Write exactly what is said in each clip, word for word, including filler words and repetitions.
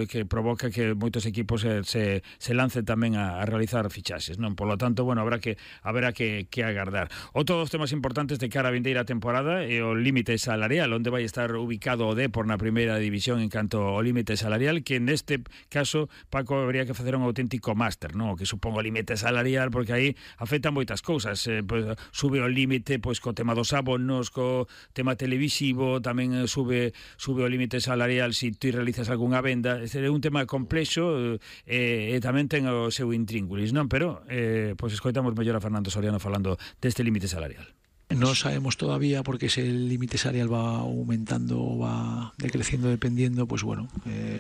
que provoca que moitos equipos se, se, se lancen tamén a, a realizar fichaxes, non? Por lo tanto, bueno, habrá que habrá que, que agardar. Outro dos temas importantes de cara a vindeira temporada é o límite salarial, onde vai estar ubicado o Depor na primeira división en canto ao límite salarial, que neste caso, Paco, habría que facer un auténtico máster, non? O que supón o límite salarial, porque aí afectan moitas cousas, eh, pues, sube o límite pois co tema dos abonos, co tema televisivo, tamén eh, sube sube o límite salarial se si ti realizas algunha venda. É un tema complexo e, e tamén ten o seu intríngulis, non? Pero eh, pois escoitamos mellor a Fernando Soriano falando deste límite salarial. No sabemos todavía porque ese límite salarial va aumentando, va decreciendo dependiendo, pues bueno, eh,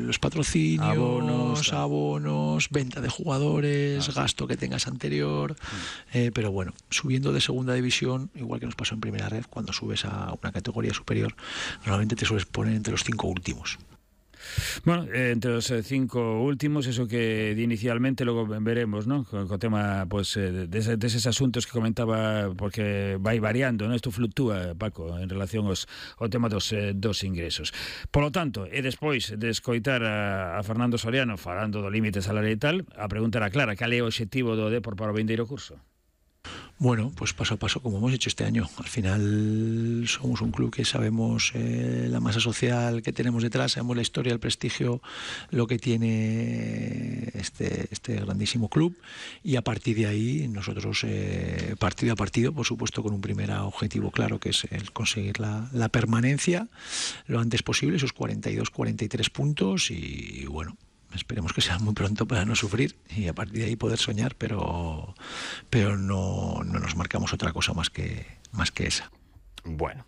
los patrocinios, abonos, abonos, venta de jugadores, ah, sí. gasto que tengas anterior, eh, pero bueno, subiendo de segunda división, igual que nos pasó en primera red, cuando subes a una categoría superior, normalmente te sueles poner entre los cinco últimos. Bueno, eh, entre os eh, cinco últimos, eso que inicialmente logo veremos, ¿no? Co, co tema, pues, eh, deses, deses asuntos que comentaba, porque vai variando, ¿no? Isto fluctúa, Paco, en relación aos, ao tema dos, eh, dos ingresos. Por lo tanto, e despois de escoitar a, a Fernando Soriano falando do límite salarial e tal, a pregunta era clara: cal é o obxectivo do Depor para o vindeiro curso? Bueno, pues paso a paso, como hemos hecho este año. Al final somos un club que sabemos eh, la masa social que tenemos detrás, sabemos la historia, el prestigio, lo que tiene este, este grandísimo club, y a partir de ahí nosotros, eh, partido a partido, por supuesto con un primer objetivo claro, que es el conseguir la, la permanencia lo antes posible, esos cuarenta y dos, cuarenta y tres puntos, y bueno, esperemos que sea muy pronto para no sufrir y a partir de ahí poder soñar, pero pero no, no nos marcamos otra cosa más que más que esa. Bueno,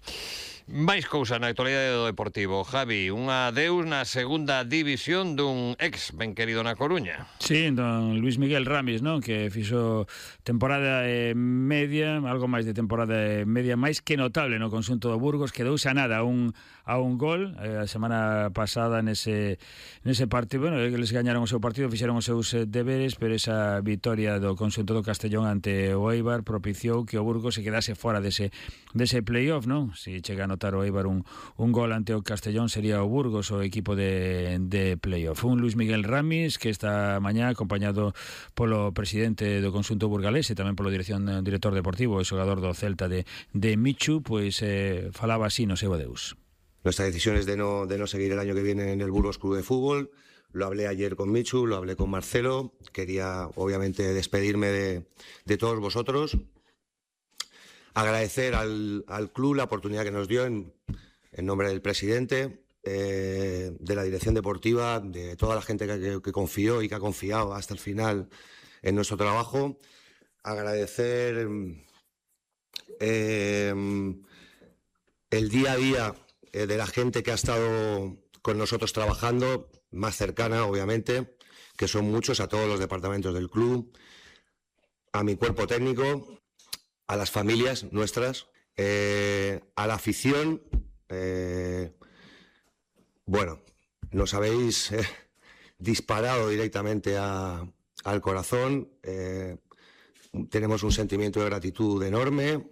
máis cousa na actualidade do Deportivo. Javi, un adeus na segunda división dun ex ben querido na Coruña. Sí, don Luis Miguel Ramis, ¿no? Que fixo temporada eh, media, algo máis de temporada media, máis que notable no conxunto do Burgos, quedouse a nada a un, a un gol eh, a semana pasada nese, nese partido. Bueno, eles gañaron o seu partido, fixeron os seus eh, deberes, pero esa victoria do conxunto do Castellón ante o Eibar propiciou que o Burgos se quedase fora dese, dese playoff, ¿no? Si chega a notar o Eibar un, un gol ante o Castellón, sería o Burgos o equipo de, de playoff. Un Luis Miguel Ramis que esta mañá acompañado polo presidente do conxunto burgalés e tamén polo dirección director deportivo e xogador do Celta de, de Michu, pois eh, falaba así no seu adeus. Nuestra decisión es de no, de no seguir el año que viene en el Burgos Club de Fútbol. Lo hablé ayer con Michu, lo hablé con Marcelo. Quería obviamente despedirme de, de todos vosotros. Agradecer al, al club la oportunidad que nos dio en, en nombre del presidente, eh, de la dirección deportiva, de toda la gente que, que confió y que ha confiado hasta el final en nuestro trabajo. Agradecer eh, el día a día eh, de la gente que ha estado con nosotros trabajando, más cercana obviamente, que son muchos, a todos los departamentos del club, a mi cuerpo técnico, a las familias nuestras, eh, a la afición. Eh, bueno, nos habéis eh, disparado directamente a, al corazón. Eh, tenemos un sentimiento de gratitud enorme.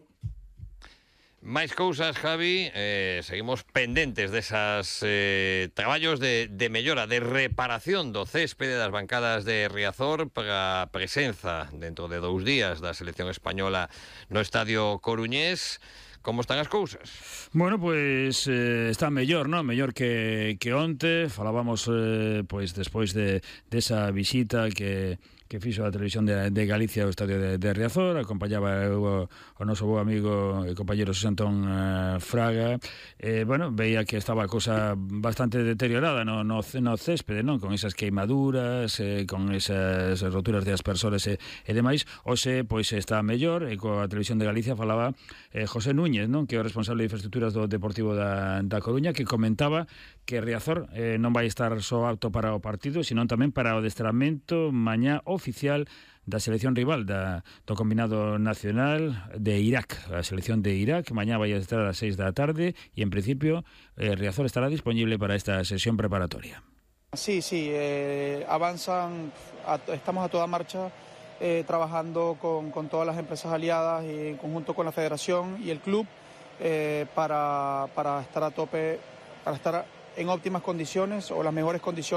Máis cousas, Javi, eh, seguimos pendentes desas eh, traballos de, de mellora, de reparación do céspede das bancadas de Riazor para a presenza dentro de dous días da selección española no estadio coruñés. Como están as cousas? Bueno, pois eh, está mellor, non? Mellor que, que onte. Falábamos eh, pois despois de desa visita que que fixo a televisión de, de Galicia ao estadio de, de Riazor, acompañaba o, o noso bo amigo e compañero Xosé Antón uh, Fraga. Eh, bueno, veía que estaba a cousa bastante deteriorada no, no, no céspede, non? Con esas queimaduras, eh, con esas roturas de aspersores e, e demais. Hoxe, pois, está mellor, e coa televisión de Galicia falaba eh, José Núñez, non? Que é o responsable de infraestructuras do Deportivo da, da Coruña, que comentaba que Riazor eh, non vai estar só apto para o partido, sino tamén para o adestramento mañá oficial da selección rival da, do combinado nacional de Irak, a selección de Irak. Mañá vai a estar a las seis da tarde e en principio eh, Riazor estará disponible para esta sesión preparatoria. Sí, sí, eh, avanzan, a, estamos a toda marcha eh, trabajando con, con todas las empresas aliadas y en conjunto con la federación y el club eh, para, para estar a tope, para estar en óptimas condiciones o las mejores condiciones